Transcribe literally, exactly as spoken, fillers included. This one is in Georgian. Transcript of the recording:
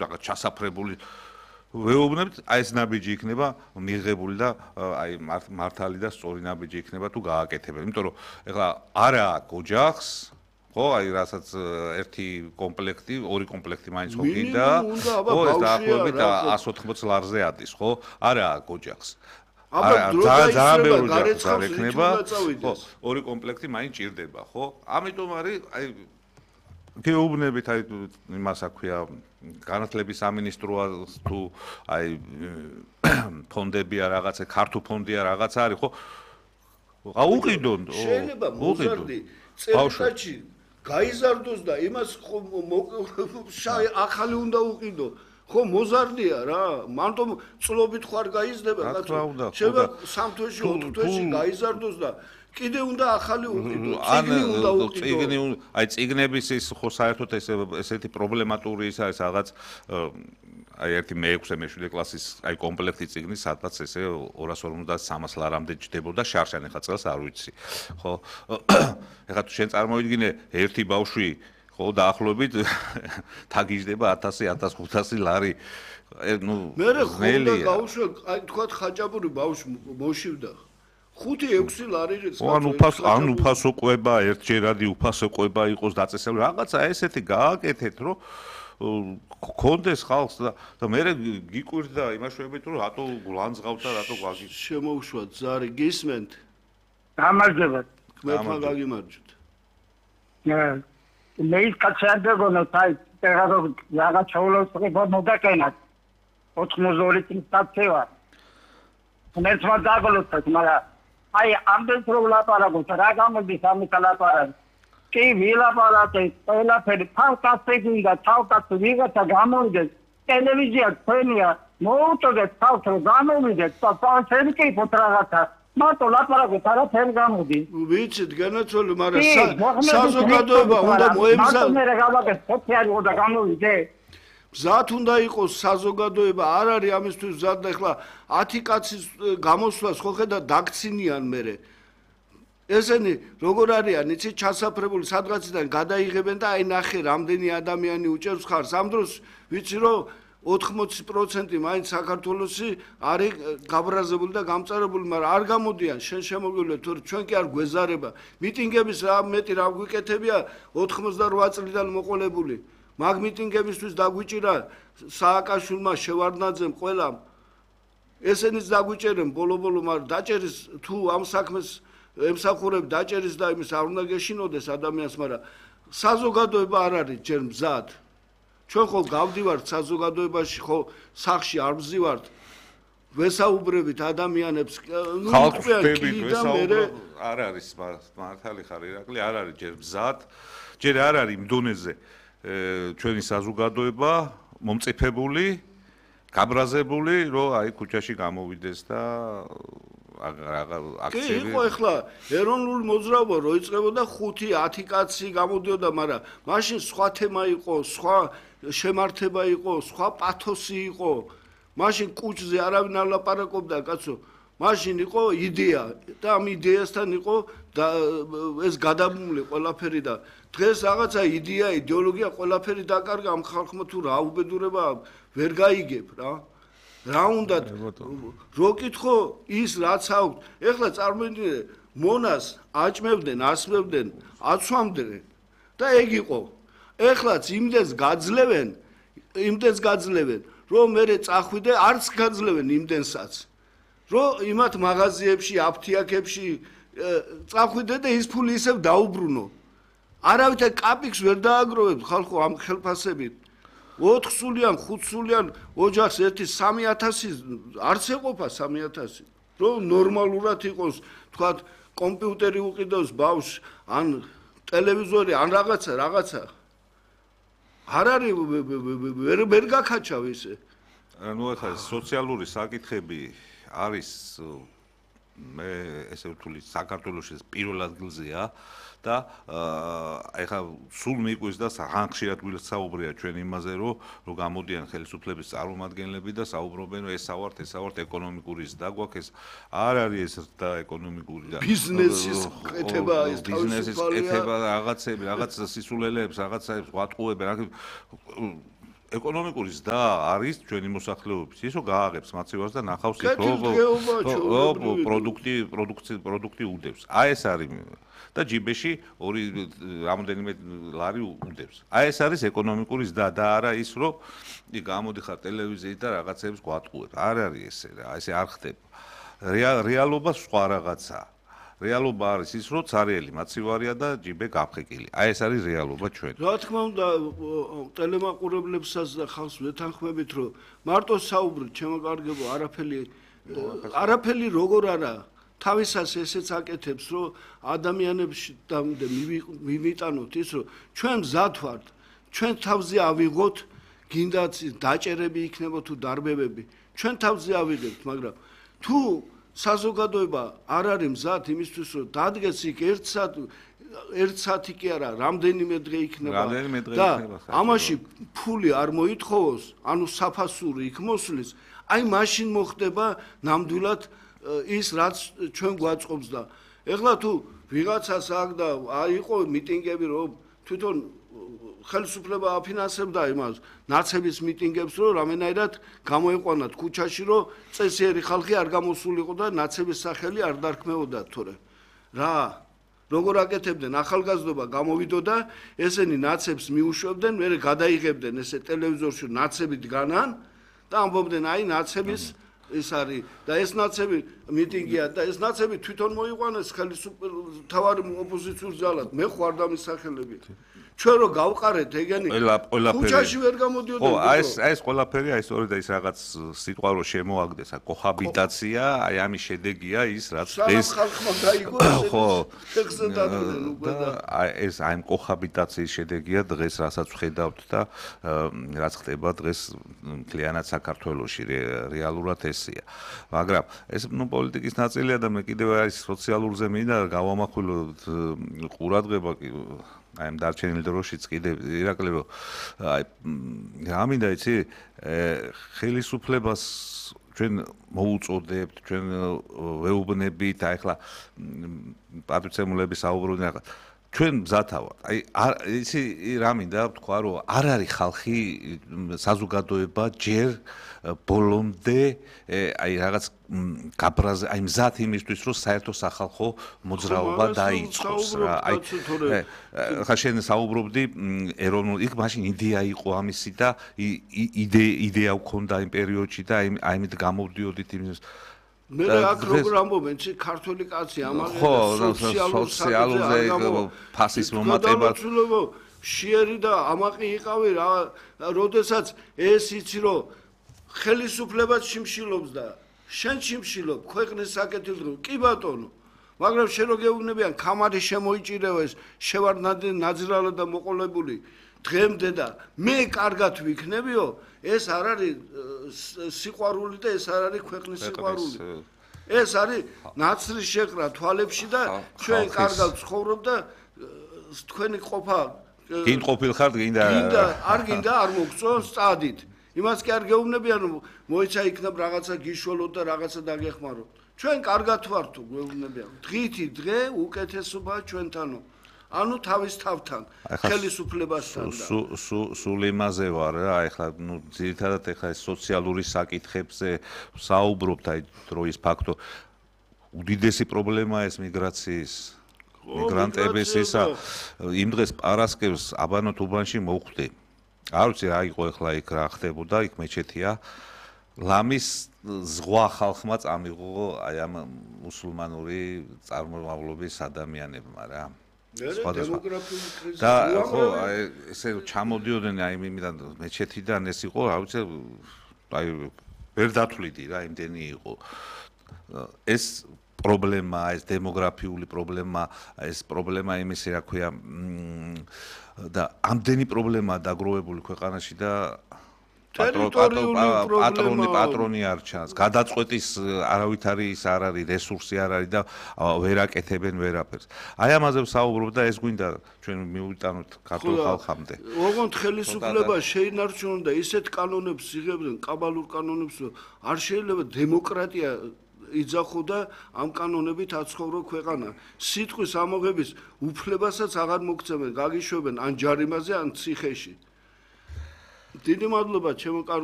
რაღაც ჩასაფრებული ვეუბნებთ, აი ეს ნაბიჯი იქნება მიღებული და აი მართალი და სწორი ნაბიჯი იქნება თუ გააკეთებელი. იმიტომ რომ ეხლა არა ოჯახს ხო, აი რასაც ერთი კომპლექტი, ორი კომპლექტი მაინც ხო გინდა, ხო, ეს დაახლოებით εκατს ოთხმოცი ლარზე ადის, ხო? არა ოჯახს. აბა ძალიან ბევრი ოჯახი იქნება, ხო, ორი კომპლექტი მაინც ჭირდება, ხო? ამიტომ არის აი გეუბნებით აი იმას აქვია განათლების სამინისტროა თუ აი ფონდებია რაღაცა, ქართულ ფონდია რაღაცა არის, ხო? აუყიდონ, შეიძლება მოზარდი წელიწადში გაიზარდოს და იმას შაი ახალი უნდა უყიდო. ხო მოზარდია რა, მანტო წლობით ხარ გაიზრდება, კაცო. შეიძლება სამ თვეში, ოთხ თვეში გაიზარდოს და კიდე უნდა ახალი უყიდო. წიგნი უნდა უყიდო. წიგნი, აი წიგნების ის ხო საერთოდ ეს ესეთი პრობლემატური ის არის რაღაც აი ერთი მეექვსე მეშვიდე კლასის აი კომპლექტი წიგნი, სადაც ესე ორას ორმოცდაათი სამას ლარამდე ჯდებოდა შარშან, ეხლა წელს არ ვიცი. ხო. ეხლა თუ შენ წარმოვიდგინე ერთი ბავშვი ხო დაახლოებით თაგიჟდება ათასი ათას ხუთასი ლარი. ნუ მერე ხონდა გავუშვა, აი თქვათ ხაჭაპური ბავშვი მოშივდა. ხუთი ექვსი ლარი რიც ან უფასო ან უფასო ყვება ერთჯერადი უფასო ყვება იყოს დაწესებული რაღაცა ესეთი გააკეთეთ რომ კონდეს ხალხს და მე გიკვირდა იმაშუებით რომ რატო გულანძღავთ და რატო გაგი შემოუშვა ზარი გისმენთ გამარჯობა გმერთან გაგიმარჯვეთ მე ის კაცერდებონა თაი წერადო რაღაც ჩაულოს ყება მოგაკენათ ოთხმოცდაორი წლის დაწევა მერცმა დაგლოცეთ მაგრამ აი ამდენ რო ლაპარაკობთ რა გამოდის ამით ლაპარაკი კი ვილაპარაკე ყველაფერი ფანტასტიკური და თავკაცი ვიღაცა გამოვიდეს ტელევიზია თქვენია მოუწოდეთ თავს რომ გამოვიდეთ და პანსერი კი პოთ რაღაცა მარტო ლაპარაკობთ არაფერი გამოდის ვიცით განაცოლე მაგრამ საზოგადოება უნდა მოემზადოს მარტო მე რა გავაკეთე სოციალი უნდა გამოვიდე მზად უნდა იყოს საზოგადოება არ არის ამისთვის მზად და ახლა ათი კაცის გამოსვლას ხო ხედა დაგცინიან მერე ესენი როგორ არიან იცი ჩასაფრებული სადღაციდან გადაიღებენ და აი ნახე რამდენი ადამიანი უჭერს ხარს ამ დროს ვიცი რომ ოთხმოცი პროცენტი მაინც საქართველოსი არის გაბრაზებული და გამწარებული მაგრამ არ გამოდიან შენ შემოგვივლე თუ ჩვენ კი არ გვეზარება მიტინგების რა მეტი რა გვიკეთებია ოთხმოცდარვა წლიდან მოყოლებული მაგ მიტინგებისთვის დაგვიჭირა სააკაშვილმა შევარდნაძემ ყველამ ესენიც დაგვიჭერენ ბოლო-ბოლო მაგრამ დაჭერის თუ ამ საქმეს ემსახურებ დაჭერის და იმის არ უნდა გეშინოდეს ადამიანს მაგრამ საზოგადოება არ არის ჯერ მზად ჩვენ ხო გავდივართ საზოგადოებაში ხო სახში არ ვზივართ ვესაუბრებით ადამიანებს ნუ ხალხები ვესაუბრობ არ არის მართალი ხარ ირაკლი არ არის ჯერ მზად ჯერ არ არის იმ დონეზე ჩვენი საზოგადოება მომწიფებული გაბრაზებული რომ აი ქუჩაში გამოვიდეს და აქციები კი იყო ახლა ეროვნული მოძრაობა რო იწყებოდა ხუთი ათი კაცი გამოდიოდა მაგრამ მაშინ სხვა თემა იყო სხვა შემართება იყო სხვა პათოსი იყო მაშინ კუჩზე არავინ არ ლაპარაკობდა კაცო მაშინ იყო იდეა და ამ იდეასთან იყო და ეს გადაბმული ყველაფერი და დღეს რაღაცა იდეა იდეოლოგია ყველაფერი დაკარგა ამ ხალხმა თუ რა უბედურება ვერ გაიგებ რა რა უნდა რო კითხო ის რაც აქვს ეხლა წარმოიდგინე მონას აჭმევდნენ ასმევდნენ აცვამდნენ და ეგ იყო ეხლაც იმდენს გაძლევენ იმდენს გაძლევენ რომ მე წახვიდე არც გაძლევენ იმდენსაც რომ იმათ მაღაზიებში აფთიაქებში წახვიდე და ის ფული ისევ დაუბრუნო არავითარ კაპიქს ვერ დააგროვებ ხალხო ამ ხელფასებით ოთხ სულიან, ხუთ სულიან ოჯახს ერთი სამი ათასი არც ეყოფა სამი ათასი. რომ ნორმალურად იყოს, თქვათ, კომპიუტერი უყიდოს ბავშვს, ან ტელევიზორი, ან რაღაცა, რაღაცა. არ არის ვერ ვერ გაქაჩავ ისე. ნუ ახლა სოციალური საკითხები არის მე ესე ვთვლი საქართველოში პირველ ადგილზეა. და ეხა სულ მიყვის და ხანგრძლივად გვისაუბრია ჩვენ იმაზე რომ რომ გამოდიან ხელისუფლების წარმომადგენლები და საუბრობენ რომ ეს ავართ ეს ავართ ეკონომიკური ზრდა გვაქვს ეს არ არის ეს ზრდა ეკონომიკური და ბიზნესის ყეთება ეს ბიზნესის ყეთება რაღაცები რაღაც სისულელეებს რაღაცაებს ვატყუებენ ეკონომიკური ზრდა არის ჩვენი მოსახლეობის ის რომ გააღებს მაცივარს და ნახავს ის რომ პროდუქტი პროდუქცია პროდუქტი უდევს. აი ეს არის და ჯიბეში ორი რამოდენიმე ლარი უდევს. აი ეს არის ეკონომიკური ზრდა და არა ის რომ გამოდიხარ ტელევიზიით და რაღაცებს გვატყუებ. არ არის ესე რა, ესე არ ხდება. რეალობა სხვა რაღაცაა. რეალობა არის ის რომ ცარიელი მაცივარია და ჯიბე გაფხეკილი. აი ეს არის რეალობა ჩვენ. რა თქმა უნდა ტელემაყურებლებსაც და ხალხს ვეთანხმებით რომ მარტო საუბრით ჩემო კარგებო არაფერი არაფერი როგორ არა თავისას ესეც აკეთებს რომ ადამიანებში დამდე მივიტანოთ ის რომ ჩვენ მზად ვართ ჩვენ თავზე ავიღოთ გინდაც დაჭერები იქნება თუ დარბებები ჩვენ თავზე ავიღებთ მაგრამ თუ საზოგადოება არ არის მზად იმისთვის რომ დადგეს იქ ერთ საათი ერთ საათი კი არა რამდენიმე დღე იქნება და ამაში ფული არ მოითხოვოს ანუ საფასური იქ მოსulis აი მაშინ მოხდება ნამდვილად ის რაც ჩვენ გვაწყობს და ეხლა თუ ვიღაცას აქ და აიყო მიტინგები რომ თვითონ ხელისუფლება აფინანსებდა იმას ნაცების მიტინგებს რომ რამენაირად გამოეყვანათ ქუჩაში რომ წესიერი ხალხი არ გამოსულიყო და ნაცების სახელი არ დარქმეოდა თორე რა როგორ აკეთებდნენ ახალგაზრდობა გამოვიდოდა ესენი ნაცებს მიუშვებდნენ მერე გადაიღებდნენ ესე ტელევიზორში ნაცები დგანან და ამბობდნენ აი ნაცების ეს არის და ეს ნაცები მიტინგია და ეს ნაცები თვითონ მოიყვანეს ხელისუფლების თავარი ოპოზიციურ ძალად მე ხوار დამისახელები ჩვენ რო გავყარეთ ეგენი ქუჩაში ვერ გამოდიოდნენ ხო აი ეს აი ეს ყველაფერი აი სწორედ და ის რაღაც სიტყვა რო შემოაგდეს კოჰაბიტაცია აი ამის შედეგია ის რაც ეს ხალხმა დაიგო ხო ტექსტზე დადგნენ უკვე და აი ეს აი ამ კოჰაბიტაციის შედეგია დღეს რასაც ვხედავთ და რაც ხდება დღეს მთლიანად საქართველოში რეალურად ესია მაგრამ ეს ნუ პოლიტიკის ნაწილია და მე კიდევ არის სოციალურ ზემინდა გავამახვილოთ ყურადღება აი ამ დარჩენილ დროშიც კიდე ირაკლი რომ აი რა მინდა იცი ხელისუფლებას ჩვენ მოუწოდებთ ჩვენ ვეუბნებით აი ახლა პატრიცემულები საუბრობდნენ ახლა ჩვენ მზათავართ აი იცი რა მინდა ვთქვა რომ არ არის ხალხი საზოგადოება ჯერ ბოლომდე აი რაღაც გაბრაზე აი მზად იმისთვის რომ საერთო სახალხო მოძრაობა დაიწყოს რა აი ხა შენ საუბრობდი ეროვნულ იქ მაშინ იდეა იყო ამისი და იდეა გქონდა იმ პერიოდში და აი აიმით გამოვდიოდით იმის მე აქ როგორ ამბობენ ცი ქართული კაცი ამაღლება სოციალურზე ფასის მომატება შიერი და ამაყი იყავი რა როდესაც ეს იცი რომ ხელისუფლებაც შიმშილობს და შენ შიმშილობ ქვეყნის საკეთილდღეო კი ბატონო მაგრამ შენ რო გეუბნებიან ქამარი შემოიჭირევა ეს შევარ ნაძრალა და მოყოლებული დღემდე და მე კარგად ვიქნებიო ეს არ არის სიყვარული და ეს არ არის ქვეყნის სიყვარული ეს არის ნაცრის შეყრა თვალებში და ჩვენ კარგად ცხოვრობ და თქვენი ყოფა გინ ყოფილ ხართ გინდა არ გინდა არ მოგწონს წადით იმას კი არ გეუბნებიან რომ მოიცა იქნებ რაღაცა გიშველოთ და რაღაცა დაგეხმაროთ ჩვენ კარგად ვართ თუ გეუბნებიან დღითი დღე უკეთესობაა ჩვენთანო ანუ თავის თავთან ხელისუფლებასთან და სულ იმაზე ვარ რა ეხლა ნუ ძირითადად ეხლა ეს სოციალური საკითხებზე საუბრობთ აი დროის ფაქტო უდიდესი პრობლემაა ეს მიგრაციის მიგრანტების ისა იმ დღეს პარასკევს აბანოთ უბანში მოვხვდი არ ვიცი რა იყო ეხლა იქ რა ხდებოდა იქ მეჩეთია ლამის ზღვა ხალხმა წამიღო აი ამ მუსულმანური წარმომავლობის ადამიანებმა რა და ხო აი ესე ჩამოდიოდნენ აი იმიდან მეჩეთიდან ეს იყო რა ვიცი აი ვერ დათვლიდი რა იმდენი იყო ეს პრობლემა ეს დემოგრაფიული პრობლემა ეს პრობლემა იმისი რა ქვია და ამდენი პრობლემაა დაგროვებული ქვეყანაში და პატრონი პატრონი არ ჩანს გადაწყვეტის არავით არის არ არის რესურსი არ არის და ვერ აკეთებენ ვერაფერს აი ამაზე ვსაუბრობ და ეს გვინდა ჩვენ მივიტანოთ ქართულ ხალხამდე ოღონდ ხელისუფლება შეინარჩუნონ და ისეთ კანონებს იღებდნენ კაბალურ კანონებს რომ არ შეიძლება დემოკრატია იძახო და ამ კანონებით აცხოვრო ქვეყანა სიტყვის ამოღების უფლებასაც აღარ მოგცემენ გაგიშვებენ ან ჯარიმაზე ან ციხეში დიდი მადლობა ჩემო კარგო